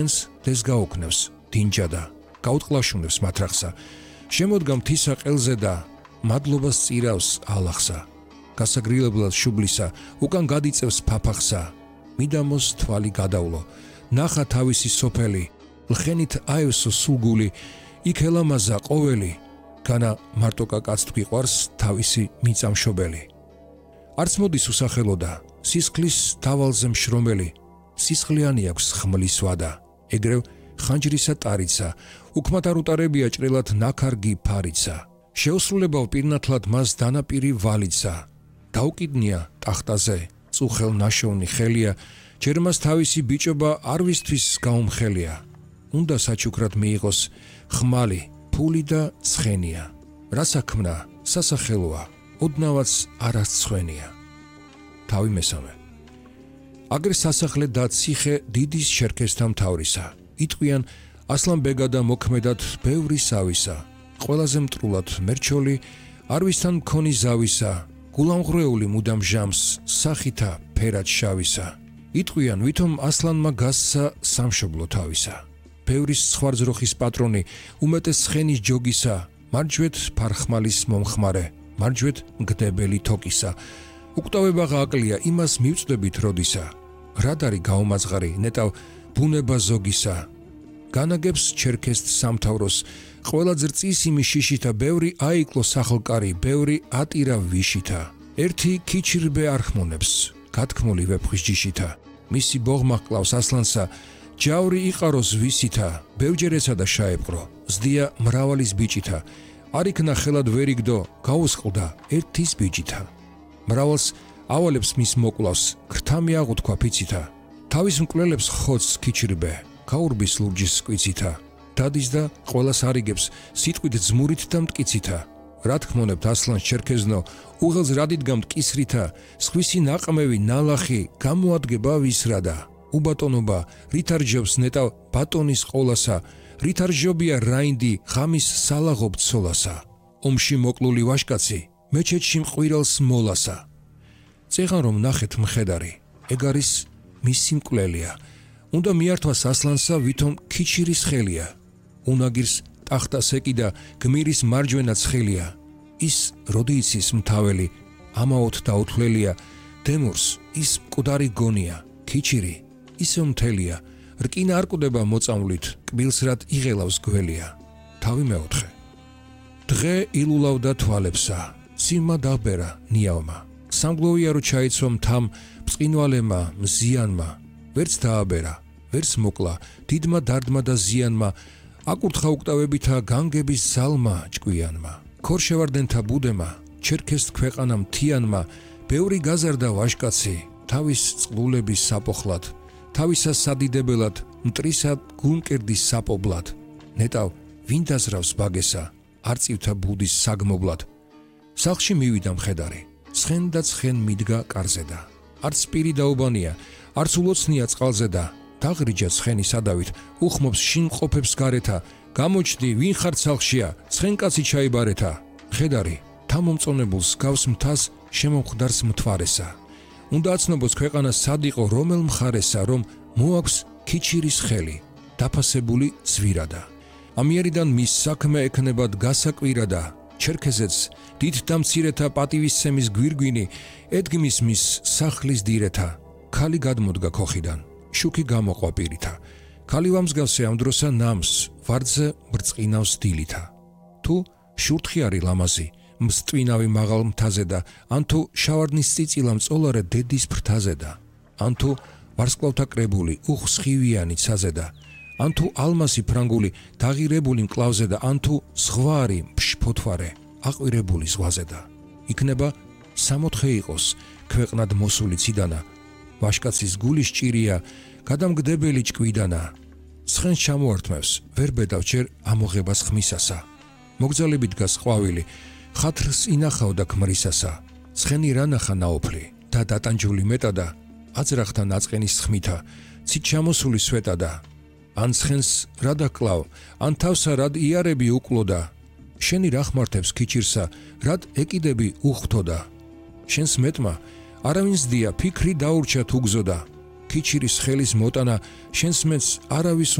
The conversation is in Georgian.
დეს გაუქნევს დინჯა და გაუტყლაშუნებს მათრახსა შემოდგა მთისა ყელზე და მადლობას წირავს ალახსა გასაგრილებლად შუბლისა უკან გადიწევს ფაფახსა მიდამოს თვალი გადავლო ნახა თავისი სოფელი ლხენით აევსო სულგული იქ ელამაზა ყოველი განა მარტო კაკაც თვიყვარს თავისი მიწამშობელი არც მოდის უსახელოდა სისხლის დავალზე მშრომელი სისხლიანი აქვს ხმლის ვადა ეგრევ ხანჯრისა ტარიცა უკმათ არ უტარებია ჭრელად ნაქარგი ფარიცა შეუსრულებავ პირნათლად მას დანაპირი ვალიცა დაუკიდნია ტახტაზე წუხელ ნაშოვნი ხელია ჯერ მას თავისი ბიჭობა არ ვისთვის გაუმხელია უნდა საჩუქრად მიიღოს ხმალი ფული და ცხენია რა საქმნა სასახელოა ოდნავაც არასცხვენია თავი მესამე აგრე სასახლე და ციხე დიდის შერქესთა მთავრისა იტყვიან ასლანბეგა და მოქმედად ბევრი სავისა ყველაზე მტრულად მერჩოლი არვისთან მქონი ზავისა გულამღრეული მუდამ ჟამს სახითა ფერად შავისა იტყვიან ვითომ ასლანმა გასცა სამშობლო თავისა ბევრის სხვარძროხის პატრონი უმეტეს ცხენის ჯოგისა მარჯვეთ ფარხმალის მომხმარე მარჯვეთ მგდებელი თოკისა უკვდავება აკლია იმას მივწდებით როდისა რადარი გაუმაძღარი ნეტავ ბუნება ზოგისა განაგებს ჩერქესთ სამთავროს ყველა ძრწის იმის შიშითა ბევრი აიკლო სახელკარი ბევრი ატირა ვიშითა ერთი ქიჩირბე არხმონებს გათქმული ვეფხვის ჯიშითა მისი ბოღმა ჰკლავს ასლანსა ჯავრი იყაროს ვისითა ბევრჯერესა და შაეპყრო ზდია მრავალის ბიჭითა არ იქნა ხელად ვერ იგდო გაუსყლდა ერთის ბიჭითა მრავალს ავალებს მის მოკლავს ქრთამი აღუთქვა ფიცითა თავის მკვლელებს ხოც ქიჩირბე გაურბის ლურჯის სკვიცითა დადის და ყველას არიგებს სიტყვით ძმურით და მტკიცითა რა თქმონებთ ასლანს ჩერქეზნო უღელს რადიდგა მტკისრითა სხვისი ნაყმევი ნალახი გამოადგება ვისრადა უბატონობა რითარჯობს ნეტავ ბატონის ყოლასა რითარჯობია რაინდი ღამის სალაღობ ცოლასა ომში მოკლული ვაშკაცი მეჩეთში მყვირელს მოლასა წეღან რომ ნახეთ მხედარი ეგ არის მისი მკვლელია უნდა მიართვას ასლანსა ვითომ ქიჩირის ხელია უნაგირს ტახტას ეკიდა გმირის მარჯვენა ცხელია ის როდი იცის მთაველი ამაოთ დაუთვლელია დემურს ის მკვდარი გონია ქიჩირი ისე მთელია რკინა არ კვდება მოწამვლით კბილს რად იღელავს გველია თავი მეოთხე დღე ილულავდა თვალებსა ციმა დაბერა ნიავმა სამგლოვია რო ჩაიცვა მთამ ბწყინვალემა მზიანმა ვერც დააბერა ვერც მოკლა დიდმა დარდმა და ზიანმა აკურთხა უკტავებითა განგების ზალმა ჭკვიანმა ქორშევარდენთა ბუდემა ჩერქეს ქვეყანა მთიანმა ბევრი გაზარდა ვაშკაცი თავის წყლულების საპოხლად თავისა სადიდებელად მტრისა გულმკერდის საპობლად ნეტავ ვინ დაზრავს ბაგესა არწივთა ბუდის საგმობლად სახლში მივიდა მხედარი ცხენ და ცხენ მიდგა კარზედა არც პირი დაუბანია არც ულოცნია წყალზედა დაღრიჯა ცხენი სადავით უხმობს შინმყოფებს გარეთა გამოჩდი ვინ ხარ სახლშია ცხენკაცი ჩაიბარეთა მხედარი თამომწონებულს გავს მთას შემომხდარს მთვარესა უნდა აცნობოს ქვეყანა სად იყო რომელ მხარესა რომ მოაქვს ქიჩირის ხელი დაფასებული ზვირადა ამიერიდან მის საქმე ექნებად გასაკვირადა ჩერქეზეც დიდ და მცირეთა პატივისცემის გვირგვინი ედგმის მის სახლის დირეთა ქალი გადმოდგა ქოხიდან შუქი გამოყვა პირითა ქალი ვამსგავსე ამ დროსა ნამს ვარძე ბრწყინავს დილითა თუ შურთხიარი ლამაზი მსტვინავი მაღალ მთაზე და ან თუ შავარდნის წიწილა მწოლარე დედის ფრთაზე და ან თუ ვარსკვლავთა კრებული უხსხივიანი ცაზე და ან თუ ალმასი ფრანგული დაღირებული მკლავზე და ან თუ ზღვარი ფშფოთვარე აყვირებული ზღვაზე და იქნება 64 იყოს ქვეყნად მოსული ციდანა ვაშკაცის გულის ჭირია გადამგდებელი ჭკვიდანა ცხენს ჩამოართმევს ვერ ბედავ ჯერ ამოღებას ხმისასა მოგძალებით დგას ყვავილი ხათრს ინახავდა ქმრისასა ცხენი რანახა ნაოფლი და დატანჯული მეტადა აწრახთა ნაწყენის ხმითა ცით ჩამოსული სვეტადა ან ცხენს რა დაკლავ ან თავსა რად იარები უკლოდა შენი რა ხმართებს ქიჩირსა რად ეკიდები უხთოდა შენს მეტმა არავინს დია ფიქრი დაურჩა თუ გზოდა ქიჩირის ხელის მოტანა შენს მეც არავის